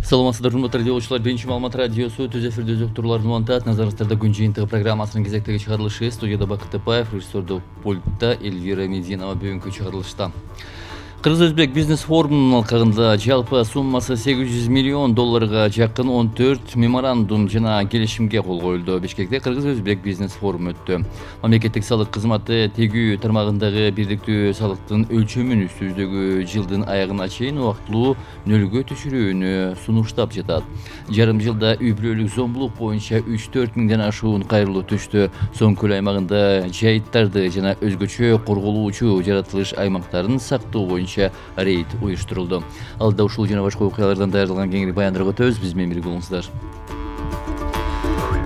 Саламатсыздар, урматтуу радиолучулар. Биринчи маалымат радиосу түз эфирде өзөк турларын улантат. Назарыңыздарда күн жыйынтыгы программасынын кезектеги чыгарылышы. Студияда Бакыт Тапаев, режиссердик пультта Эльвира Мединова. Бүгүнкү чыгарылышта Кыргыз-Өзбек бизнес форумунун алкагында жалпы суммасы $800 миллион жакын 14 меморандум жана келишимге кол коюлду. Бишкекте Кыргыз-Өзбек бизнес форуму өттү. Мамлекеттик салык кызматы тегүү тармагындагы бирдиктүү салыктын өлчөмүн үстүбүздөгү жылдын аягына чейин убактылуу нөлгө түшүрүүнү сунуштап жатат. Жарым жылда үй-бүлөлүк зомбулук боюнча 3-4 миңден ашуун кайрылуу түштү. Соң көл аймагында жайыттарды жана өзгөчө корголуучу жаратылыш аймактарын сактоо боюнча рейд уюштурулду. Алда ушул жана башка окуялардан даярдалган кеңири баяндырууга өтөбүз. Биз менен бирге болуңуздар.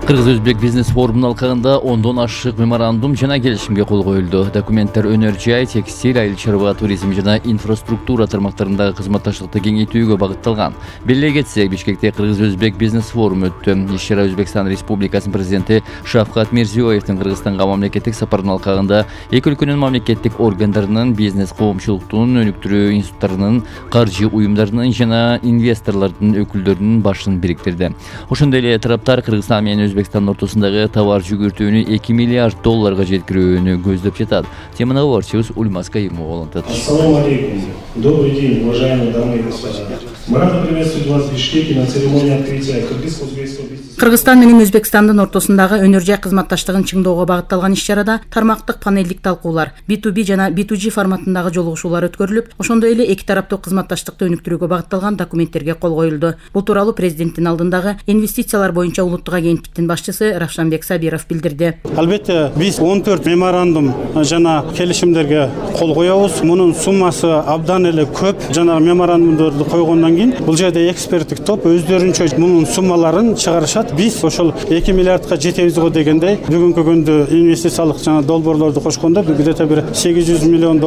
Кыргыз-Өзбек бизнес форумунун алкагында 10дон ашык меморандум жана келишимге кол коюлду. Документтер өнөр жай, текстиль, айыл чарба, туризм жана инфраструктура тармактарындагы кызматташтыкты кеңейтүүгө багытталган. Белгилей кетсек, Бишкекте Кыргыз-Өзбек бизнес форуму өттү. Иш-чара Өзбекстан Республикасынын президенти Шавкат Мирзиёевдин Кыргызстанга мамлекеттик сапарынын алкагында эки өлкөнүн мамлекеттик органдарынын, бизнес коомчулуктун өнүктүрүү институттарынын, каржы уюмдарынын жана инвесторлордун өкүлдөрүнүн башын бириктирди. Ошондой эле тараптар Кыргызстан менен Өзбекстандын ортосундагы товар жүгүртүүнү $2 миллиард жеткирүүнү көздөп жатат. Теманы кабарчыбыз Ульмаз Каимова улантат. Ассаламу алейкум. Добрый день, уважаемые дамы и господа. Мы рады приветствовать вас в Бишкеке на церемонии открытия Кыргыз-Өзбекского бизнес. Кыргызстан менен Өзбекстандын ортосундагы өнөр жай кызматташтыгын чыңдоого багытталган иш-чарада тармактык панелдик талкуулар, B2B жана B2G форматындагы жолугушуулар өткөрүлүп, ошондой эле эки тараптуу кызматташтыкты өнүктүрүүгө багытталган документтерге кол коюлду. Бул тууралуу президенттин алдындагы инвестициялар боюнча улуттук агенттиктин башчысы Равшанбек Сабиров билдирди. Албетте, биз 14 меморандум жана келишимдерге кол коебуз. Мунун суммасы абдан эле көп. Жана меморандумдорду койгондон кийин бул жерде эксперттик топ өздөрүнчө мунун суммаларын чыгарышат. Биз ошол 2 миллиардка жетебиз го дегендей, бүгүнкү күндө инвестициялык жана долбоорлорду кошкондо где-то бир $800 миллион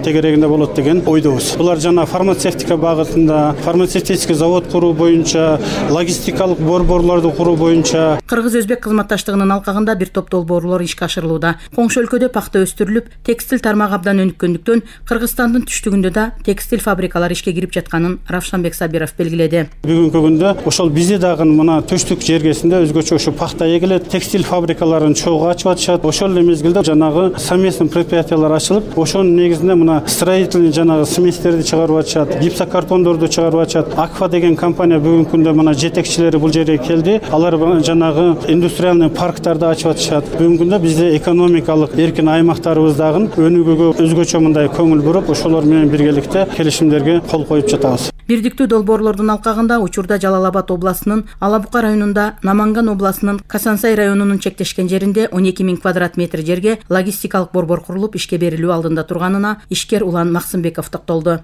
тегерегинде болот деген ойдобуз. Булар жана фармацевтика багытында, фармацевтический завод куруу боюнча, логистикалык борборлорду куруу боюнча. Кыргыз-Өзбек кызматташтыгынын алкагында бир топ долбоорлор ишке ашырылууда. Коңшу өлкөдө пахта өстүрүлүп, текстиль тармагы абдан өнүккөндүктөн Кыргызстандын түштүгүндө да текстиль фабрикалары ишке кирип жатканын Равшанбек Сабиров белгиледи. Бүгүнкү күндө ошол бизде дагы мына түштүк жергесинде өзгөчө ошо пахта эгилет, текстиль фабрикаларын чогуу ачып атышат. Ошол эле мезгилде жанагы совместный предприятиялар ачылып, ошонун негизинде мына строительный жанагы сместерди чыгарып атышат, гипсокартондорду чыгарып атышат. Акфа деген компания бүгүнкү күндө мына жетекчилери бул жерге келди. Алар жанагы индустриальный парктарды ачып атышат. Бүгүнкү күндө бизде экономикалык эркин аймактарыбыздагы өнүгүүгө өзгөчө мындай көңүл буруп, ошолор менен биргеликте келишимдерге кол коюп жатабыз. Бирдиктүү долбоорлордун алкагында учурда Жалал Абад областынын Алабука районунда, Наманган областынын Касансай районунун чектешкен жеринде 12 000 квадрат метр жерге логистикалык борбор курулуп ишке берилүү алдында турганына ишкер Улан Максымбеков токтолду.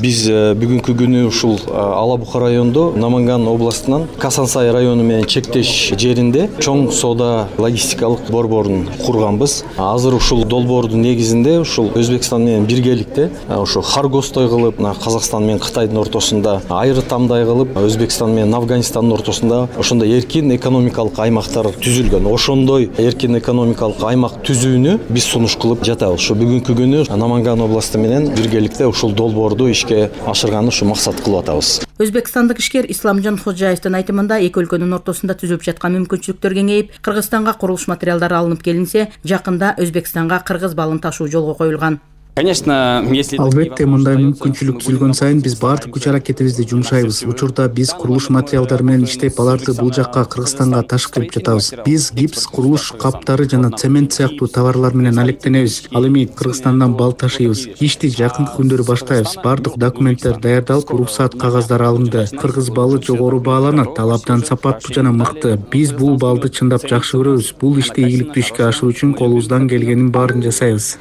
Биз бүгүнкү күнү ушул Алабука райондо Наманган областынан Касансай району менен чектеш жеринде чоң соода логистикалык борборун курганбыз. Азыр ушул долбоордун негизинде ушул Өзбекстан менен биргеликте ошо Харгостой кылып, Казакстан менен Кытайдын ортосунда айрытамдай кылып, Өзбекстан менен Афганистандын ортосунда ошондой эркин экономикалык аймактар түзүлгөн. Ошондой эркин экономикалык аймак түзүүнү биз сунуш кылып жатабыз. Ошо бүгүнкү күнү Наманган областы менен биргеликте ушул долбоорду ишке ашырганды ушу максат кылып атабыз. Өзбекстандык ишкер Исламжан Ходжаевдин айтымында эки өлкөнүн ортосунда түзүлүп жаткан мүмкүнчүлүктөр кеңейип, Кыргызстанга курулуш материалдары алынып келинсе, жакында Өзбекстанга кыргыз балын ташуу жолго коюлган. Албетте, мындай мүмкүнчүлүк түзүлгөн сайын биз баардык күч аракетибизди жумшайбыз. Учурда биз курулуш материалдары менен иштеп, аларды бул жакка Кыргызстанга ташып келип жатабыз. Биз гипс, курулуш каптары жана цемент сыяктуу товарлар менен алектенебиз. Ал эми Кыргызстандан бал ташыйбыз. Ишти жакынкы күндөрү баштайбыз. Баардык документтер даярдалып, уруксаат кагаздары алынды. Кыргыз балы жогору бааланат, ал абдан сапаттуу жана мыкты. Биз бул балды чындап жакшы көрөбүз. Бул ишти ийгиликтүү ишке ашыруу үчүн колубуздан келгенин баарын жасайбыз.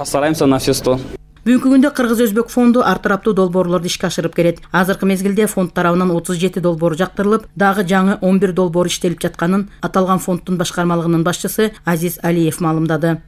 Бүгүнкү күндө Кыргыз-Өзбек фонду ар тараптуу долбоорлорду ишке ашырып келет. Азыркы мезгилде фонд тарабынан 37 долбоор жактырылып, дагы жаңы 11 долбоор иштелип жатканын аталган фонддун башкармалыгынын башчысы Азиз Алиев маалымдады.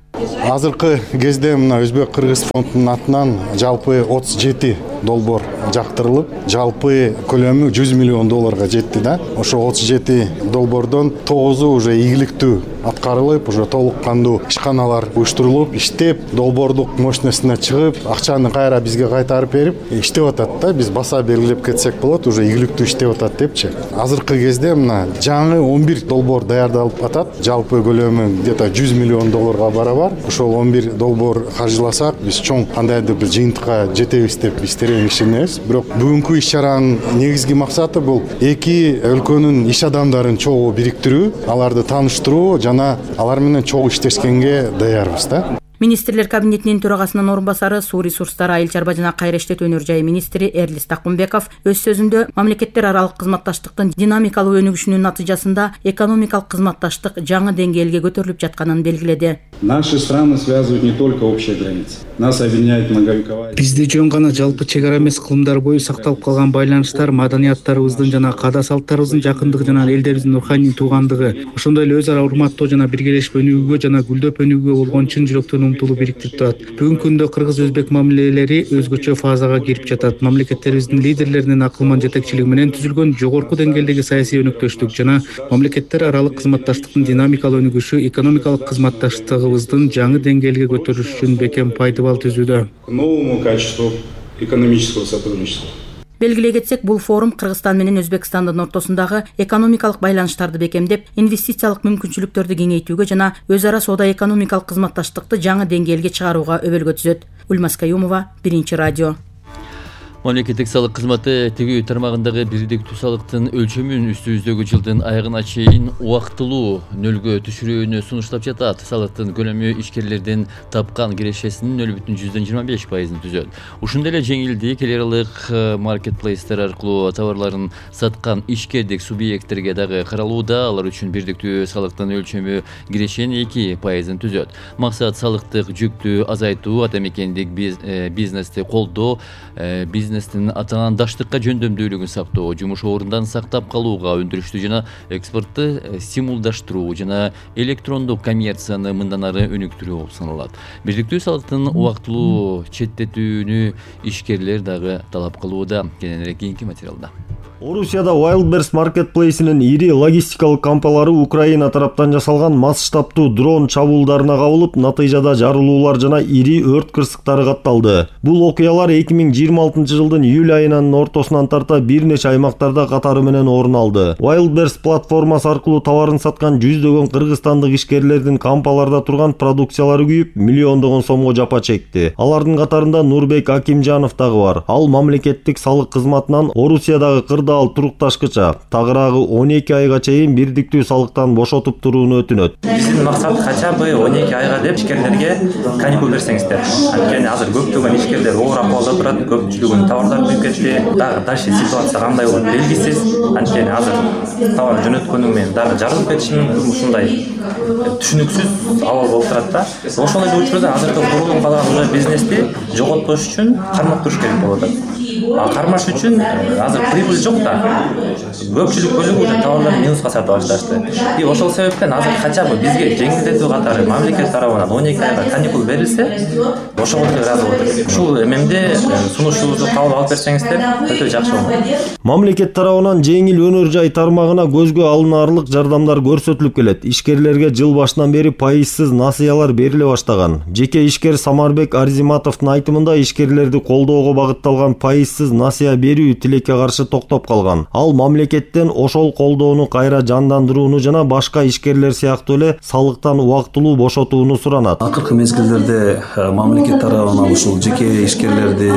Азыркы кезде мына Өзбек-Кыргыз фондунун атынан жалпы 37 долбоор жактырылып, жалпы көлөмү 100 миллион долларга жетти да. Ошо 37 долбоордон 9-у уже ийгиликтүү аткарылып, уже толук кандуу ишканалар уюштурулуп, иштеп, долбоордук мощностуна чыгып, акчаны кайра бизге кайтарып берип, иштеп атат да. Биз баса белгилеп кетсек болот, уже ийгиликтүү иштеп атат депчи. Азыркы кезде мына жаңы 11 долбоор даярдалып атат. Жалпы көлөмү где-то 100 миллион долларга барабар. Ошол 11 долбоор каржыласак, биз чоң кандайдыр бир жыйынтыкка жетебиз деп биз терең ишенебиз. Бирок бүгүнкү иш-чаранын негизги максаты бул эки өлкөнүн иш адамдарын чогуу бириктирүү, аларды тааныштыруу жана алар менен чогуу иштешкенге даярбыз да. Министрлер кабинетинин төрагасынын орун басары, суу ресурстары, айыл чарба жана кайра иштетүү өнөр жайы министри Эрлис Такумбеков өз сөзүндө мамлекеттер аралык кызматташтыктын динамикалуу өнүгүшүнүн натыйжасында экономикалык кызматташтык жаңы деңгээлге көтөрүлүп жатканын белгиледи. Наши страны связывают не только общая граница. Нас объединяет многовековая. Бизди жөн гана жалпы чек ара эмес кылымдар бою сакталып калган байланыштар, маданияттарыбыздын жана каада салттарыбыздын жакындыгы жана элдерибиздин руханий туугандыгы, ошондой эле өз ара урматтоо жана биргелешип өнүгүүгө жана гүлдөп өнүгүүгө болгон чын жүрөктөн умтулуу бириктирип турат. Бүгүнкү күндө кыргыз-өзбек мамилелери өзгөчө фазага кирип жатат. Мамлекеттерибиздин лидерлеринин акылман жетекчилиги менен түзүлгөн жогорку деңгээлдеги саясий өнөктөштүк жана мамлекеттер аралык кызматташтыктын динамикалуу өнүгүшү экономикалык кызматташтыгыбыздын жаңы деңгээлге көтөрүлүш үчүн бекем пайдабал түзүүдө. К новому качеству экономического сотрудничества. Белгилей кетсек, бул форум Кыргызстан менен Өзбекстандын ортосундагы экономикалык байланыштарды бекемдеп, инвестициялык мүмкүнчүлүктөрдү кеңейтүүгө жана өз ара соода экономикалык кызматташтыкты жаңы деңгээлге чыгарууга өбөлгө түзөт. Ульмас Каюмова, Биринчи радио. Мамлекеттик салык кызматы тегүү тармагындагы бирдиктүү салыктын өлчөмүн үстүбүздөгү жылдын аягына чейин убактылуу нөлгө түшүрүүнү сунуштап жатат. Салыктын көлөмү ишкерлердин тапкан кирешесинин 0,25%-ын түзөт. Ушундай эле жеңилдик эл аралык маркетплейстер аркылуу товарларын саткан ишкердик субъекттерге дагы каралууда. Алар үчүн бирдиктүү салыктын өлчөмү кирешенин 2%-ын түзөт. Максат салыктык жүктү азайтуу, атамекендик бизнести колдоо, бизнестин атаандаштыкка жөндөмдүүлүгүн сактоо, жумуш орундан сактап калууга, өндүрүштү жана экспортту стимулдаштыруу жана электрондук коммерцияны мындан ары өнүктүрүү болуп саналат. Бирдиктүү салыктын убактылуу четтетүүнү ишкерлер дагы талап кылууда. Кененирээк кийинки материалда. Орусияда Wildberries маркетплейсинин ири логистикалык кампалары Украина тараптан жасалган масштабтуу дрон чабуулдарына кабылып, натыйжада жарылуулар жана ири өрт кырсыктары катталды. Бул окуялар 2026 жылдын июль айынын ортосунан тарта бир нече аймактарда катары менен орун алды. Wildberries платформасы аркылуу товарын саткан жүздөгөн кыргызстандык ишкерлердин кампаларда турган продукциялары күйүп, миллиондогон сомго жапа чекти. Алардын катарында Нурбек Акимжанов дагы бар. Ал мамлекеттик салык кызматынан Орусиядагы кырдаал турукташкыча тагыраагы 12 айга чейин бирдиктүү салыктан бошотуп турууну өтүнөт. Биздин максат хотя бы 12 айга деп ишкерлерге каникул берсеңиздер. Анткени азыр көптөгөн ишкерлер оор акыбалда турат, көпчүлүгүнүн товарлары күйүп кетти. Дагы дальше ситуация кандай болот белгисиз. Анткени азыр товар жөнөткөнүң менен дагы жарылып кетиши мүмкүн, ушундай түшүнүксүз абал болуп турат да. Ошол эле учурда азыркы курулуп калган уже бизнести жоготпош үчүн кармактыш керек болуп атат. Кармаш үчүн азыр прибыль жок да. Көпчүлүк бөлүгү уже товарларды минуска сатып алыштырды. И ошол себептен азыр хотя бы бизге жеңилдетүү катары мамлекет тарабынан 12 айга каникул берилсе, ошого ыраазы болот. Ушул эмемде сунушубузду кабыл алып берсеңиздер, өтө жакшы болот. Мамлекет тарабынан жеңил өнөр жай тармагына көзгө алынаарлык жардамдар көрсөтүлүп келет. Ишкерлерге жыл башынан бери пайызсыз насыялар бериле баштаган. Жеке ишкер Самарбек Арзиматовдун айтымында ишкерлерди колдоого багытталган пайызсыз насыя берүү тилекке каршы токтоп калган. Ал мамлекеттен ошол колдоону кайра жандандырууну жана башка ишкерлер сыяктуу эле салыктан убактылуу бошотууну суранат. Акыркы мезгилдерде мамлекет тарабынан ушул жеке ишкерлерди,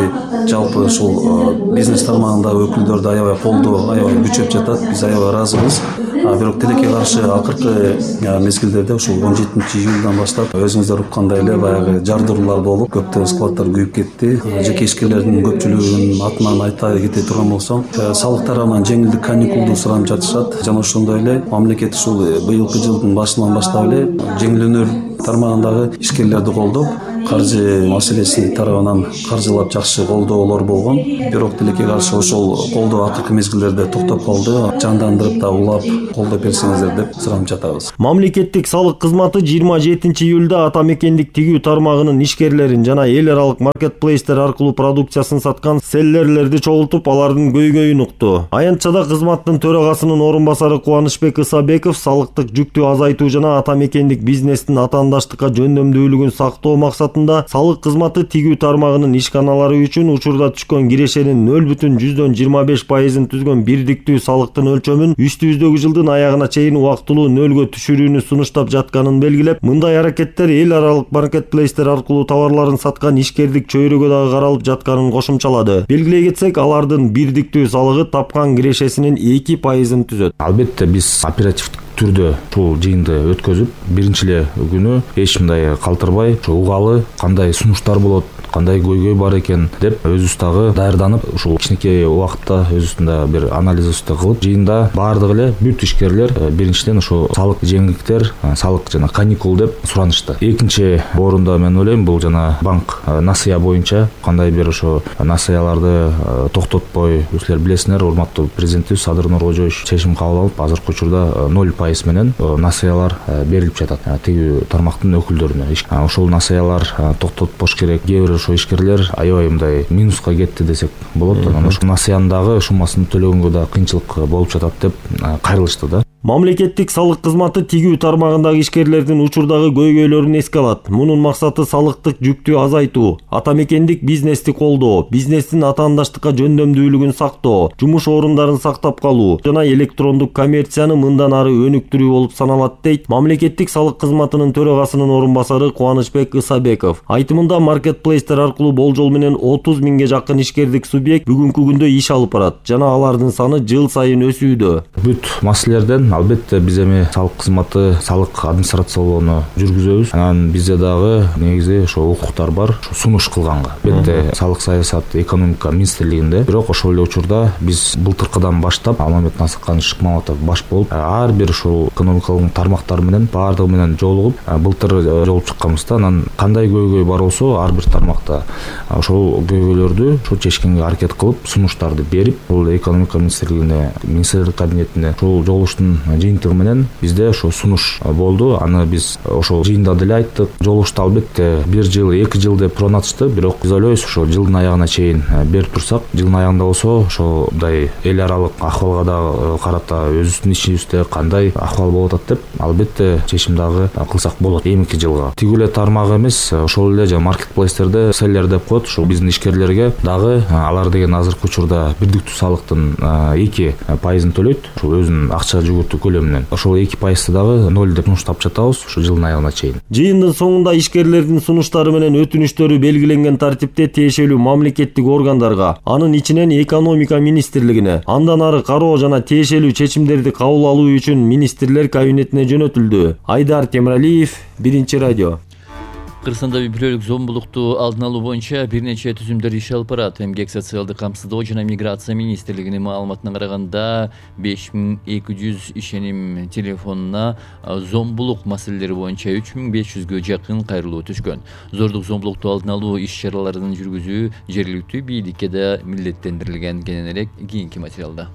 жалпы ушул бизнес тармагындагы өкүлдөрдү аябай колдоо аябай күчөп жатат. Биз аябай ыраазыбыз. Бирок тилекке каршы акыркы мезгилдерде ушул 17-июлдан баштап өзүңүздөр уккандай эле баягы жардыруулар болуп, көптөгөн складдар күйүп кетти. Жеке ишкерлердин көпчүлүгүнүн атынан айта кете турган болсом, салык тарабынан жеңилдик каникулду суранып жатышат. Жана ошондой эле мамлекет ушул быйылкы жылдын башынан баштап эле жеңил өнөр тармагындагы ишкерлерди колдоп, каржы маселеси тарабынан каржылап жакшы колдоолор болгон. Бирок тилекке каршы ошол колдоо акыркы мезгилдерде токтоп калды. Жандандырып да улап колдоп берсеңиздер деп суранып жатабыз. Мамлекеттик салык кызматы 27-июлда ата мекендик тигүү тармагынын ишкерлерин жана эл аралык маркетплейстер аркылуу продукциясын саткан селлерлерди чогултуп, алардын көйгөйүн укту. Аянтчада кызматтын төрагасынын орун басары Кубанычбек Ысабеков салыктык жүктү азайтуу жана ата мекендик бизнестин атаандаштыкка жөндөмдүүлүгүн сактоо максатында салык кызматы тигүү тармагынын ишканалары үчүн учурда түшкөн кирешенин 0,25%-ын түзгөн бирдиктүү салыктын өлчөмүн үстүбүздөгү жылдын аягына чейин убактылуу нөлгө түшүрүүнү сунуштап жатканын белгилеп, мындай аракеттер эл аралык маркетплейстер аркылуу товарларын саткан ишкердик чөйрөгө дагы каралып жатканын кошумчалады. Белгилей кетсек, алардын бирдиктүү салыгы тапкан кирешесинин 2%-ын түзөт. Албетте биз оперативдик түрдө ушул жыйынды өткөзүп, биринчи эле күнү эч мындай калтырбай, угалы кандай сунуштар болот, кандай көйгөй бар экен деп өзүбүз дагы даярданып, ушул кичинекей убакытта өзүбүздүн да бир анализибизди кылып, жыйында баардыгы эле бүт ишкерлер биринчиден ошо салык жеңилдиктер, салык жана каникул деп суранышты. Экинчи орунда мен ойлойм, бул жана банк насыя боюнча кандай бир ошо насыяларды токтотпой, силер билесиңер, урматтуу президентибиз Садыр Нуркожоевич чечим кабыл алып, азыркы учурда 0% менен насыялар берилип жатат тигүү тармактын өкүлдөрүнө. Ошол насыялар токтотпош керек. Кээ бир ошо ишкерлер аябай мындай минуска кетти десек болот. Анан ошо насыянын дагы шумасын төлөгөнгө да кыйынчылык болуп жатат деп кайрылышты да. Мамлекеттик салык кызматы тигүү тармагындагы ишкерлердин учурдагы көйгөйлөрүн эске алат. Мунун максаты салыктык жүктү азайтуу, ата мекендик бизнести колдоо, бизнестин атаандаштыкка жөндөмдүүлүгүн сактоо, жумуш орундарын сактап калуу жана электрондук коммерцияны мындан ары өнүктүрүү болуп саналат, дейт Мамлекеттик салык кызматынын төрагасынын орун басары Кубанычбек Ысабеков. Айтымында маркетплейстер аркылуу болжол менен 30 миңге жакын ишкердик субъект бүгүнкү күндө иш алып барат жана алардын саны жыл сайын өсүүдө. Бүт маселелерден албетте биз эми салык кызматы, салык администрациялоону жүргүзөбүз. Анан бизде дагы негизи ошо укуктар бар, сунуш кылганга. Албетте салык саясат экономика министрлигинде, бирок ошол эле учурда биз былтыркыдан баштап Алмамет Насыкканович Шыкмаматов баш болуп, ар бир ушул экономикалык тармактар менен баардыгы менен жолугуп, былтыр жолугуп чыкканбызда, анан кандай көйгөй бар болсо ар бир тармакта ошол көйгөйлөрдү чечкенге аракет кылып, сунуштарды берип, бул экономика министрлигине, министрлик кабинетине ушул жолугуштун жыйынтыгы менен бизде ошо сунуш болду. Аны биз ошол жыйында деле айттык. Жолугушту албетте 1 жыл, 2 жыл деп пронатышты, бирок биз ойлойбуз ошо жылдын аягына чейин берип турсак, жылдын аягында болсо ошодай эл аралык акыбалга да карата өзүбүздүн ичибизде кандай акыбал болуп атат деп албетте чечим дагы кылсак болот. Эмки жылга тигүү эле тармак эмес, ошол эле жана маркетплейстерде селлер деп коет, ушул биздин ишкерлерге дагы алар деген азыркы учурда бирдиктүү салыктын 2%-ын төлөйт, ошол өзүнүн акча жүгүртүү көлөмүнөн. Ошол 2%-ты дагы 0 деп сунуштап жатабыз ушу жылдын аягына чейин. Жыйындын соңунда ишкерлердин сунуштары менен өтүнүштөрү белгиленген тартипте тиешелүү мамлекеттик органдарга, анын ичинен экономика министрлигине, андан ары кароо жана тиешелүү чечимдерди кабыл алуу үчүн министрлер кабинетине жөнөтүлдү. Айдар Темиралиев, Биринчи радио. Кыргызстанда үй-бүлөлүк зомбулукту алдын алуу боюнча бир нече түзүмдөр иш алып барат. Эмгек социалдык камсыздоо жана миграция министрлигинин маалыматына караганда 5200 ишеним телефонуна зомбулук маселелери боюнча 3500гө жакын кайрылуу түшкөн. Зордук зомбулукту алдын алуу иш-чараларын жүргүзүү жергиликтүү бийликке да милдеттендирилген. Кененирээк кийинки материалда.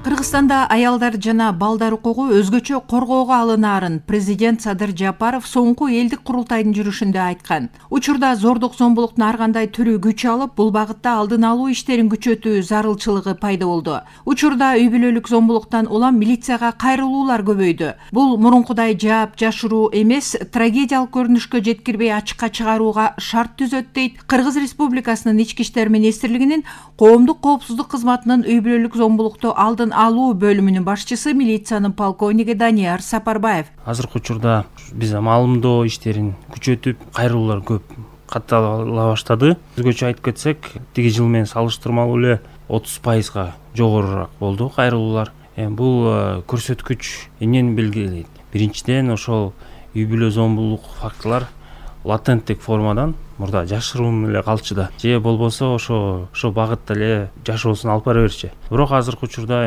Кыргызстанда аялдар жана балдар укугу өзгөчө коргоого алынаарын президент Садыр Жапаров соңку элдик курултайдын жүрүшүндө айткан. Учурда зордук зомбулуктун ар кандай түрү күч алып, бул багытта алдын алуу иштерин күчөтүү зарылчылыгы пайда болду. Учурда үй-бүлөлүк зомбулуктан улам милицияга кайрылуулар көбөйдү. Бул мурункудай жаап жашыруу эмес, трагедиялык көрүнүшкө жеткирбей ачыкка чыгарууга шарт түзөт, дейт Кыргыз Республикасынын Ички иштер министрлигинин коомдук коопсуздук кызматынын үй-бүлөлүк зомбулукту алдын алуу бөлүмүнүн башчысы милициянын полковниги Данияр Сапарбаев. Азыркы учурда биз маалымдоо иштерин күчөтүп, кайрылуулар көп каттала баштады. Өзгөчө айтып кетсек, тиги жыл менен салыштырмалуу эле 30%га жогорураак болду кайрылуулар. Бул көрсөткүч эмнени белгилейт? Биринчиден, ошол үй-бүлө зомбулук фактылар латенттик формадан мурда жашыруун эле калчу да, же болбосо ошо багытта эле жашоосун алып бара берчи. Бирок азыркы учурда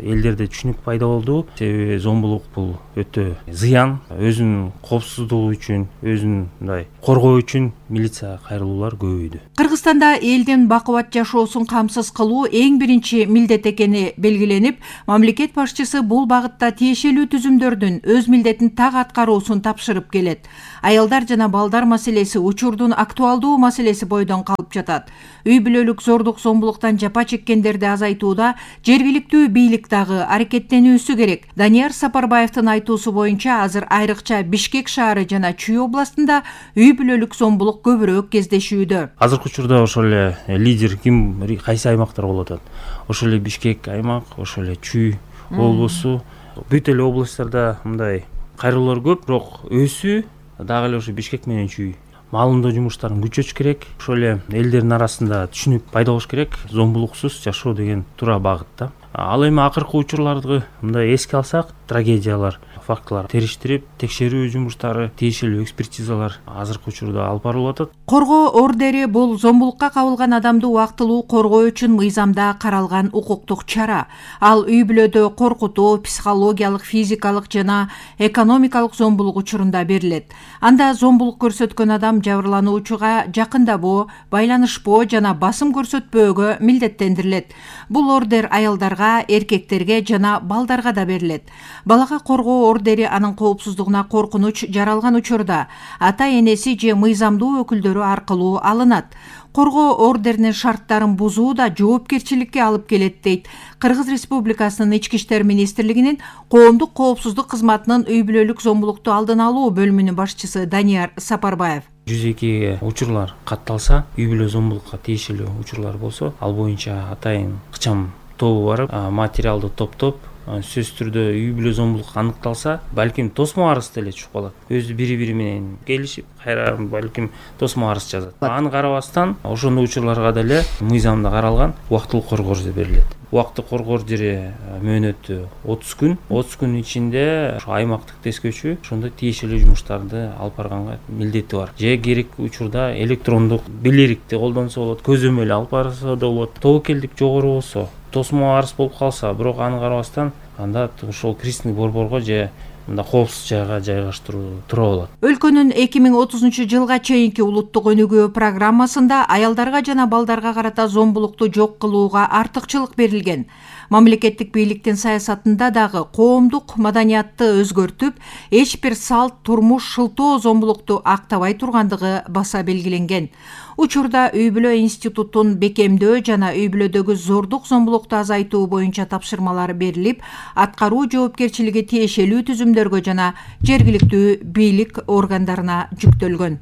элдерде түшүнүк пайда болду. Себеби зомбулук бул өтө зыян. Өзүнүн коопсуздугу үчүн, өзүн мындай коргоо үчүн милиция кайрылуулар көбөйдү. Кыргызстанда элдин бакубат жашоосун камсыз кылуу эң биринчи милдет экени белгиленип, мамлекет башчысы бул багытта тиешелүү түзүмдөрдүн өз милдетин так аткаруусун тапшырып келет. Аялдар жана балдар маселеси учурдун актуалдуу маселеси бойдон калып жатат. Үй бүлөлүк зордук зомбулуктан жапа чеккендерди азайтууда жергиликтүү бийлик дагы аракеттенүүсү керек. Данияр Сапарбаевдин айтуусу боюнча азыр айрыкча Бишкек шаары жана Чүй областында үй бүлөлүк зомбулук көбүрөөк кездешүүдө. Азыркы учурда ошол эле лидер ким, кайсы аймактар болуп атат? Ошол эле Бишкек аймак, ошол эле Чүй облусу, бүт эле областтарда мындай кайрылуулар көп, бирок өсүү дагы эле ошо Бишкек менен Чүй. Маалымдоо жумуштарын күчөтүш керек. Ошол эле элдердин арасында түшүнүк пайда болуш керек. Зомбулуксуз жашоо деген туура багытта. Ал эми акыркы учурларды мындай эске алсак, трагедиялар, фактылар териштирип, текшерүү жумуштары, тиешелүү экспертизалар азыркы учурда алып барылып атат. Коргоо ордери бул зомбулукка кабылган адамды убактылуу коргоо үчүн мыйзамда каралган укуктук чара. Ал үй бүлөдө коркутуу, психологиялык, физикалык жана экономикалык зомбулук учурунда берилет. Анда зомбулук көрсөткөн адам жабырлануучуга жакындабоо, байланышпоо жана басым көрсөтпөөгө милдеттендирилет. Бул ордер аялдарга, эркектерге жана балдарга да берилет. Балага коргоо ордери анын коопсуздугуна коркунуч жаралган учурда ата-энеси же мыйзамдуу өкүлдөрү аркылуу алынат. Коргоо ордеринин шарттарын бузуу да жоопкерчиликке алып келет дейт Кыргыз Республикасынын Ички иштер министрлигинин коомдук коопсуздук кызматынын үй бүлөлүк зомбулукту алдын алуу бөлүмүнүн башчысы Данияр Сапарбаев. 102 учурлар катталса, үй бүлө зомбулукка тиешелүү учурлар болсо, ал боюнча атайын кычам тобу барып, материалды топтоп, сөзсүз түрдө үй бүлө зомбулук аныкталса, балким тосмо арыз деле чыгып калат. Өзү бири-бири менен келишип, кайра балким тосмо арыз жазат. Аны карабастан, ошондой учурларга деле мыйзамда каралган убактылуу коргоо ордери берилет. Убактылуу коргоо ордери мөөнөтү 30 күн. 30 күн ичинде ошо аймактык тескөөчү ошондой тиешелүү жумуштарды алып барганга милдети бар. Же керек учурда электрондук билерикти колдонсо болот, көзөмөл алып барса да болот. Тобокелдик жогору болсо, тосмо арыз болуп калса, бирок аны карабастан, анда ошол кристиндик борборго же мында коопсуз жайга жайгаштыруу туура болот. Өлкөнүн 2030 жылга чейинки улуттук өнүгүү программасында аялдарга жана балдарга карата зомбулукту жок кылууга артыкчылык берилген. Мамлекеттик бийликтин саясатында дагы коомдук маданиятты өзгөртүп, эч бир салт, турмуш, шылтоо зомбулукту актабай тургандыгы баса белгиленген. Учурда үй бүлө институтун бекемдөө жана үй бүлөдөгү зордук зомбулукту азайтуу боюнча тапшырмалар берилип, аткаруу жоопкерчилиги тиешелүү түзүмдөргө жана жергиликтүү бийлик органдарына жүктөлгөн.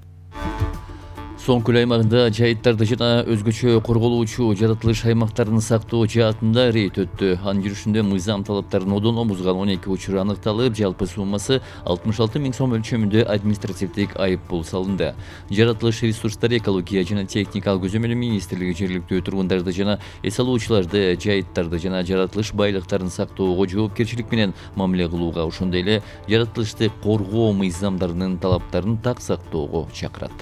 Соң көл аймагында жайыттарды жана өзгөчө корголуучу жаратылыш аймактарын сактоо жаатында рейд өттү. Анын жүрүшүндө мыйзам талаптарын одоно бузган 12 учур аныкталып, жалпы суммасы 66 000 сом өлчөмүндө административдик айыппул салынды. Жаратылыш ресурстары, экология жана техникалык көзөмөлү министрлиги жергиликтүү тургундарды жана эс алуучуларды жайыттарды жана жаратылыш байлыктарын сактоого жоопкерчилик менен мамиле кылууга, ошондой эле жаратылышты коргоо мыйзамдарынын талаптарын так сактоого чакырат.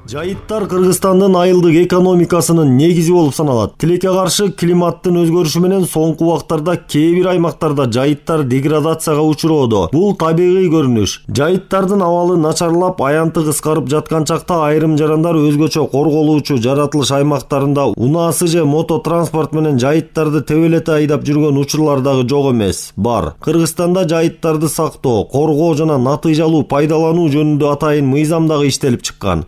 Жайыттар Кыргызстандын айылдык экономикасынын негизи болуп саналат. Тилекке каршы климаттын өзгөрүшү менен соңку убактарда кээ бир аймактарда жайыттар деградацияга учуроодо. Бул табигый көрүнүш. Жайыттардын абалы начарлап, аянты кыскарып жаткан чакта айрым жарандар өзгөчө корголуучу жаратылыш аймактарында унаасы же мототранспорт менен жайыттарды тебелете айдап жүргөн учурлар дагы жок эмес. Бар. Кыргызстанда жайыттарды сактоо, коргоо жана натыйжалуу пайдалануу жөнүндө атайын мыйзам дагы иштелип чыккан.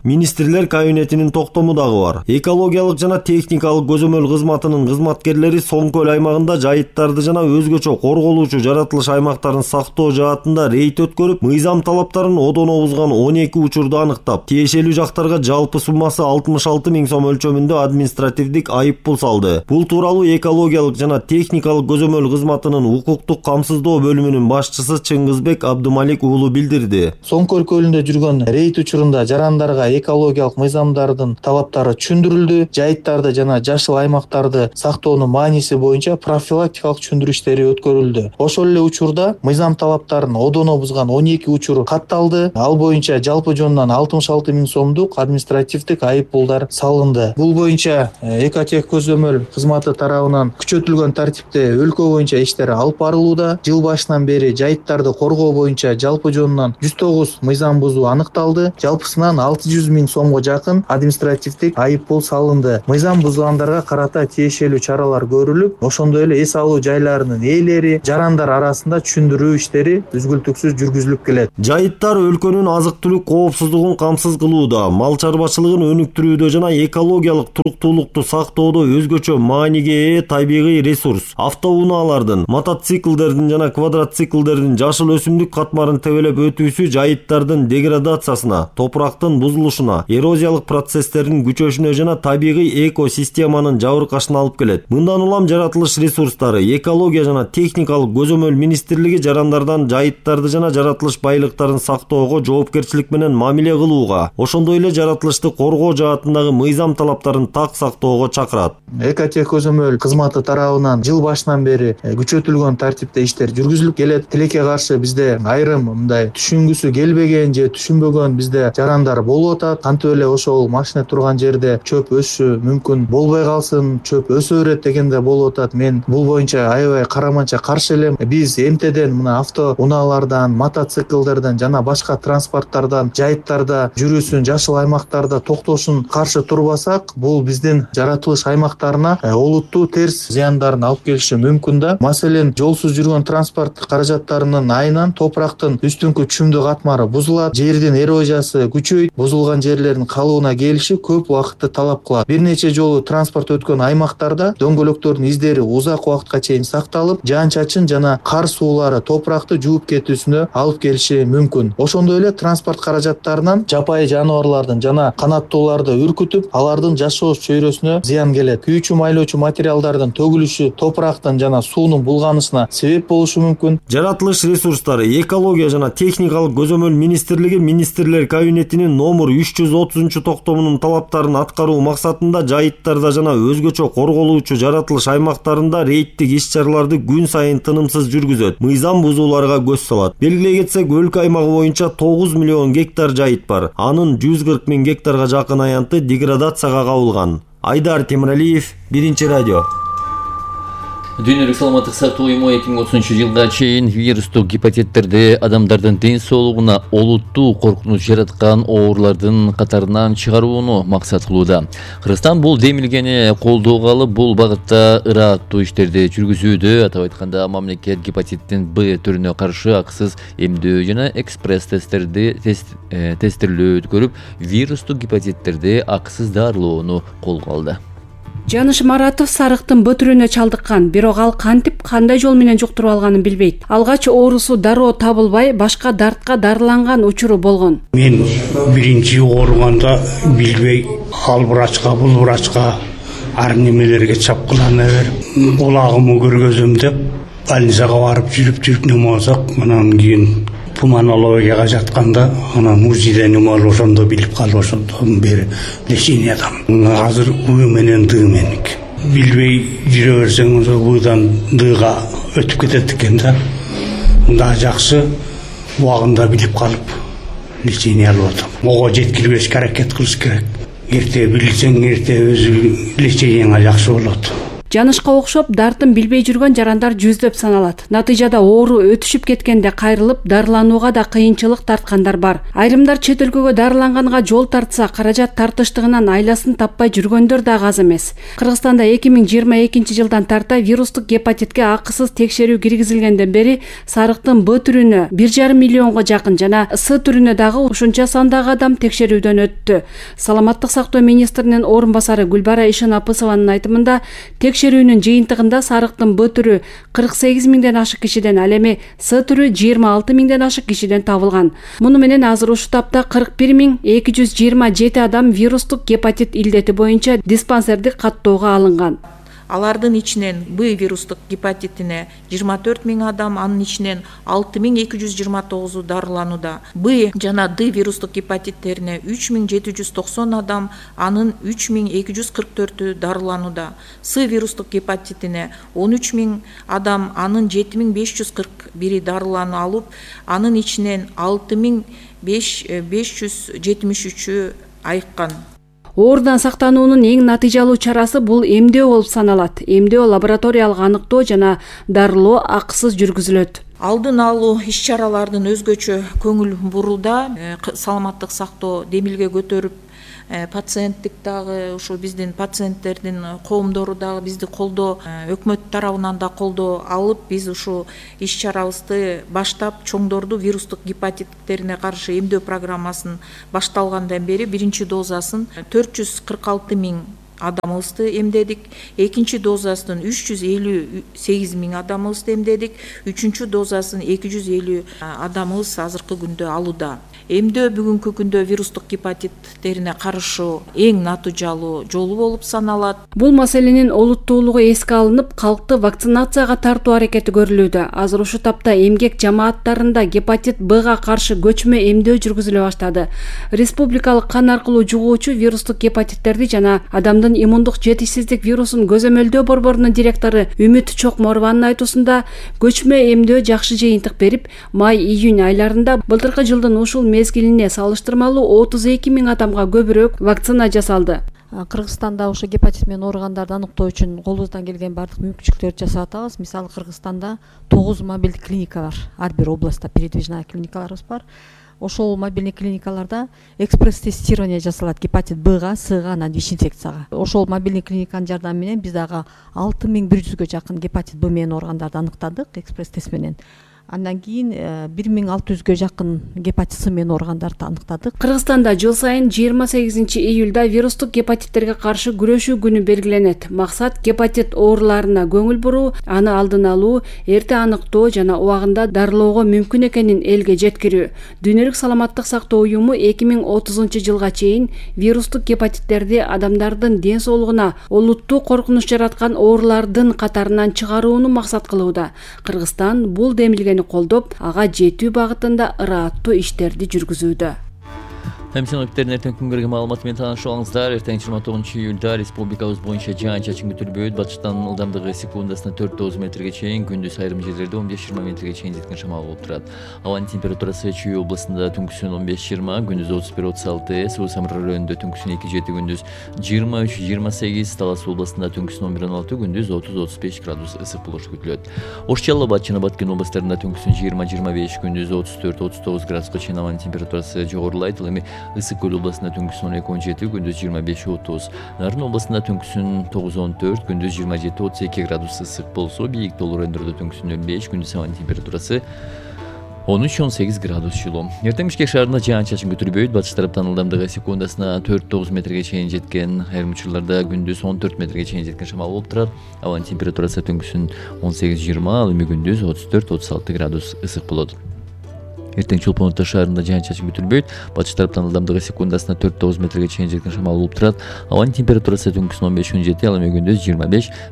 Кабинетинин токтому дагы бар. Экологиялык жана техникалык көзөмөл кызматынын кызматкерлери Соң көл аймагында жайыттарды жана өзгөчө корголуучу жаратылыш аймактарын сактоо жаатында рейд өткөрүп, мыйзам талаптарын одоно бузган 12 учурду аныктап, тиешелүү жактарга жалпы суммасы 66 000 сом өлчөмүндө административдик айыппул салды. Бул тууралуу экологиялык жана техникалык көзөмөл кызматынын укуктук камсыздоо бөлүмүнүн башчысы Чыңгызбек Абдымалик уулу билдирди. Соң көл көлүндө жүргөн рейд учурунда жарандарга экология экологиялык мыйзамдардын талаптары түшүндүрүлдү. Жайыттарды жана жашыл аймактарды сактоонун мааниси боюнча профилактикалык түшүндүрүү иштери өткөрүлдү. Ошол эле учурда мыйзам талаптарын одоно бузган 12 учур катталды. Ал боюнча жалпы жонунан 66 000 сомдук административдик айып пулдар салынды. Бул боюнча Экотехкөзөмөл кызматы тарабынан күчөтүлгөн тартипте өлкө боюнча иштер алып барылууда. Жыл башынан бери жайыттарды коргоо боюнча жалпы жонунан 109 мыйзам бузуу аныкталды. Жалпысынан 600 000 сомго жакын административдик айып пул салынды. Мыйзам бузгандарга карата тиешелүү чаралар көрүлүп, ошондой эле эс алуу жайларынын ээлери, жарандар арасында түшүндүрүү иштери үзгүлтүксүз жүргүзүлүп келет. Жайыттар өлкөнүн азык-түлүк коопсуздугун камсыз кылууда, мал чарбачылыгын өнүктүрүүдө жана экологиялык туруктуулукту сактоодо өзгөчө мааниге ээ табигый ресурс. Автоунаалардын, мотоциклдердин жана квадроциклдердин жашыл өсүмдүк катмарын тебелеп өтүүсү жайыттардын деградациясына, топурактын бузулушуна, эрозиялык процесстердин күчөшүнө жана табигый экосистеманын жабыркашына алып келет. Мындан улам жаратылыш ресурстары, экология жана техникалык көзөмөл министрлиги жарандардан жайыттарды жана жаратылыш байлыктарын сактоого жоопкерчилик менен мамиле кылууга, ошондой эле жаратылышты коргоо жаатындагы мыйзам талаптарын так сактоого чакырат. Экотехкөзөмөл кызматы тарабынан жыл башынан бери күчөтүлгөн тартипте иштер жүргүзүлүп келет. Тилекке каршы бизде айрым мындай түшүнгүсү келбеген же түшүнбөгөн бизде жарандар болуп атат. Кантип эле ошол машина турган жерде чөп өсүшү мүмкүн болбой калсын, чөп өсө берет дегенде болуп атат. Мен бул боюнча аябай караманча каршы элем. Биз эмтеден мына автоунаалардан, мотоциклдерден жана башка транспорттардан жайыттарда жүрүүсүн, жашыл аймактарда токтошун каршы турбасак, бул биздин жаратылыш аймактарына олуттуу терс зыяндарын алып келиши мүмкүн да. Маселен, жолсуз жүргөн транспорт каражаттарынын айынан топурактын үстүнкү чүмдү катмары бузулат, жердин эрозиясы күчөйт, бузулган жерлердин калыбына келиши көп убакытты талап кылат. Бир нече жолу транспорт өткөн аймактарда дөңгөлөктөрдүн издери узак убакытка чейин сакталып, жаан-чачын жана кар суулары топуракты жууп кетүүсүнө алып келиши мүмкүн. Ошондой эле транспорт каражаттарынан жапайы жаныбарлардын жана канаттууларды үркүтүп, алардын жашоо чөйрөсүнө зыян келет. Күйүүчү майлоочу материалдардын төгүлүшү топурактын жана суунун булганышына себеп болушу мүмкүн. Жаратылыш ресурстары, экология жана техникалык көзөмөл министрлиги министрлер кабинетинин номер 330 токтомунун талаптарын аткаруу максатында жайыттарда жана өзгөчө корголуучу жаратылыш аймактарында рейдтик иш-чараларды күн сайын тынымсыз жүргүзөт. Мыйзам бузууларга көз салат. Белгилей кетсек, өлкө аймагы боюнча 9 миллион гектар жайыт бар. Анын 140 000 гектарга жакын аянты деградацияга кабылган. Айдар Темиралиев, Биринчи радио. Дүйнөлүк саламаттык сактоо уюму 2030 жылга чейин вирустук гепатиттерди адамдардын ден соолугуна олуттуу коркунуч жараткан оорулардын катарынан чыгарууну максат кылууда. Кыргызстан бул демилгени колдоого алып, бул багытта ырааттуу иштерди жүргүзүүдө. Атап айтканда, мамлекет гепатиттин Б түрүнө каршы акысыз эмдөө жана экспресс тестирлөө өткөрүп, вирустук гепатиттерди акысыз дарылоону колго алды. Жаныш Маратов сарыктын Б түрүнө чалдыккан, бирок ал кантип, кандай жол менен жуктуруп алганын билбейт. Алгач оорусу дароо табылбай, башка дартка дарыланган учуру болгон. Мен биринчи ооруганда билбей, ал врачка, бул врачка ар немелерге чапкылана берип, кулагымы көргөзөм деп, больницага барып жүрүп немосак, анан кийин пулмонологияга жатканда, анан УЗИде неме ошондо билип калып, ошондо бери лечениядамын. Азыр У менен Д меники. Билбей жүрө берсең, Удан Дга өтүп кетет экен да. Мында жакшы убагында билип калып лечение алып атам. Ого жеткирбешке аракет кылыш керек. Эрте билсең, эрте өзү лечениеңа жакшы болот. Жанышка окшоп дартын билбей жүргөн жарандар жүздөп саналат. Натыйжада оору өтүшүп кеткенде кайрылып, дарыланууга да кыйынчылык тарткандар бар. Айрымдар чет өлкөгө дарыланганга жол тартса, каражат тартыштыгынан айласын таппай жүргөндөр да аз эмес. Кыргызстанда 2022 жылдан тарта вирустук гепатитке акысыз текшерүү киргизилгенден бери сарыктын Б түрүнө 1,5 миллионго жакын жана С түрүнө дагы ушунча сандагы адам текшерүүдөн өттү. Саламаттык сактоо министринин орун басары Гүлбара Ишенапысованын айтымында, текшерүүнүн жыйынтыгында сарыктын Б түрү 48 000ден ашык кишиден, ал эми С түрү 26 000ден ашык кишиден табылган. Муну менен азыр ушул тапта 41 227 адам вирустук гепатит илдети боюнча диспансердик каттоого алынган. Алардын ичинен Б вирустук гепатитине 24 000 адам, анын ичинен 6229 дарыланууда. Б жана Д вирустук гепатиттерине 3790 адам, анын 3244 дарыланууда. С вирустук гепатитине 13 000 адам, анын 7541 дарылануу алып, анын ичинен 6573 айыккан. Оордан сактануунун эң натыйжалуу чарасы бул эмдөө болуп саналат. Эмдөө лабораториялык аныктоо жана дарылоо акысыз жүргүзүлөт. Алдын алуу иш-чаралардын өзгөчө көңүл бурулда, саламаттык сактоо демилге көтөрүп, пациенттик дагы ушу биздин пациенттердин коомдору дагы бизди колдоо, өкмөт тарабынан да колдоо алып, биз ушу иш-чарабызды баштап, чоңдорду вирустук гепатиттерине каршы эмдөө программасын башталгандан бери биринчи дозасын 446 000 адамыбызды эмдедик, экинчи дозасын 358 000 адамыбызды эмдедик, үчүнчү дозасын 250 адамыбыз азыркы күндө алууда. Эмдөө бүгүнкү күндө вирустук гепатиттерине каршы эң натыйжалуу жолу болуп саналат. Бул маселенин олуттуулугу эске алынып, калкты вакцинацияга тартуу аракети көрүлүүдө. Азыр ушу тапта эмгек жамааттарында гепатит Бга каршы көчмө эмдөө жүргүзүлө баштады. Республикалык кан аркылуу жугуучу вирустук гепатиттерди жана адамдын иммундук жетишсиздик вирусун көзөмөлдөө борборунун директору Үмүт Чокморованын айтуусунда, көчмө эмдөө жакшы жыйынтык берип, май-июнь айларында былтыркы жылдын ушул мезгилине салыштырмалуу 32 000 адамга көбүрөөк вакцина жасалды. Кыргызстанда ошо гепатит менен ооругандарды аныктоо үчүн колубуздан келген бардык мүмкүнчүлүктөрдү жасап атабыз. Мисалы Кыргызстанда 9 мобилдик клиника бар. Ар бир областта передвижная клиникаларыбыз бар. Ошол мобильный клиникаларда экспресс-тестирование жасалат гепатит Бга, Сга, анан ВИЧ-инфекцияга. Ошол мобильный клиниканын жардамы менен биз дагы 6100-гө жакын гепатит Б менен ооругандарды аныктадык экспресс-тест менен. Андан кийин 1600-гө жакын гепатит С менен ооругандарды аныктадык. Кыргызстанда жыл сайын 28 июлда вирустук гепатиттерге каршы күрөшүү күнү белгиленет. Максат гепатит ооруларына көңүл буруу, аны алдын алуу, эрте аныктоо жана убагында дарылоого мүмкүн экенин элге жеткирүү. Дүйнөлүк саламаттык сактоо уюму 2030-жылга чейин вирустук гепатиттерди адамдардын ден соолугуна олуттуу коркунуч жараткан оорулардын катарынан чыгарууну максат кылууда. Кыргызстан бул демилгени колдоп, ага жетүү багытында ырааттуу иштерди жүргүзүүдө. Хемсиновиктердин эртең күнгөргө маалыматы менен таанышып эртең 29 июлда республикабыз боюнча жаан-чачын күтүлбөйт. Батыштан ылдамдыгы секундасына 4-9 метрге чейин, күндүз айрым жерлерде 15-20 метрге чейин жеткен шамал болуп турат. Абанын температурасы Чүй областында түнкүсүн 15-20, күндүз 31-36, Суу Самыр районунда түнкүсүн 2-7, күндүз 23-28, Талас областында түнкүсүн 11-16, күндүз 30-35 градус ысык болушу күтүлөт. Ош, Жалал Абад жана Баткен областарында түнкүсүн 20-25, күндүз 34-39 градуска чейин абанын температурасы жогорулайт. Ал эми Ысык көл областында түнкүсүн 12-17, күндүз 25-30. Нарын областында түнкүсүн 9-14, күндүз 27-32 градус ысык болсо, бийик тоолуу райондордо түнкүсүн 05, күндүз абанын температурасы 13-18 градус жылуу. Эртең Бишкек шаарында жаан-чачын күтүлбөйт. Батыш тараптан ылдамдыгы секундасына 4-9 метрге чейин жеткен, айрым учурларда күндүз 14 метрге чейин жеткен шамал болуп турат. Абанын температурасы түнкүсүн 18-20, ал эми күндүз 34-36 градус ысык болот. Эртең Чолпон Ата шаарында жаан-чачын күтүлбөйт. Батыш тараптан ылдамдыгы секундасына 4-9 метрге чейин жеткен шамал болуп турат. Абанын температурасы түнкүсүн 15-17, ал эми күндүз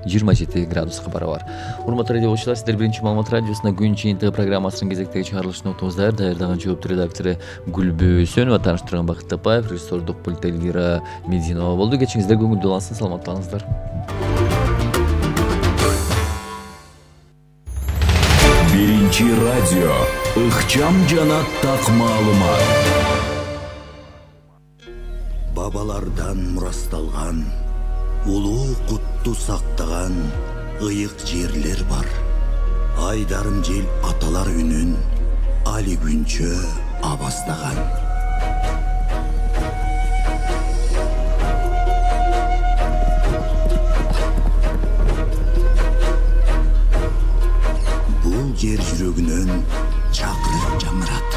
25-27 градуска барабар. Урматтуу радио окуучулар, сиздер биринчи маалымат радиосуна күн жыйынтыгы программасынын кезектеги чыгарылышын уктуңуздар. Даярдаган жооптуу редактору Гүлбү Өсөнова, тааныштырган Бакыт Тапаев, режиссердук пульт Элвира Мединова болду. Кечиңиздер көңүлдүү болсун, саламаттаныңыздар. Биринчи радио, ыкчам жана так маалымат. Бабалардан мурасталган, улуу кутту сактаган ыйык жерлер бар. Айдарым жел аталар үнүн али күнчө абастаган. Бул жер жүрөгүнөн чакырып жамырат.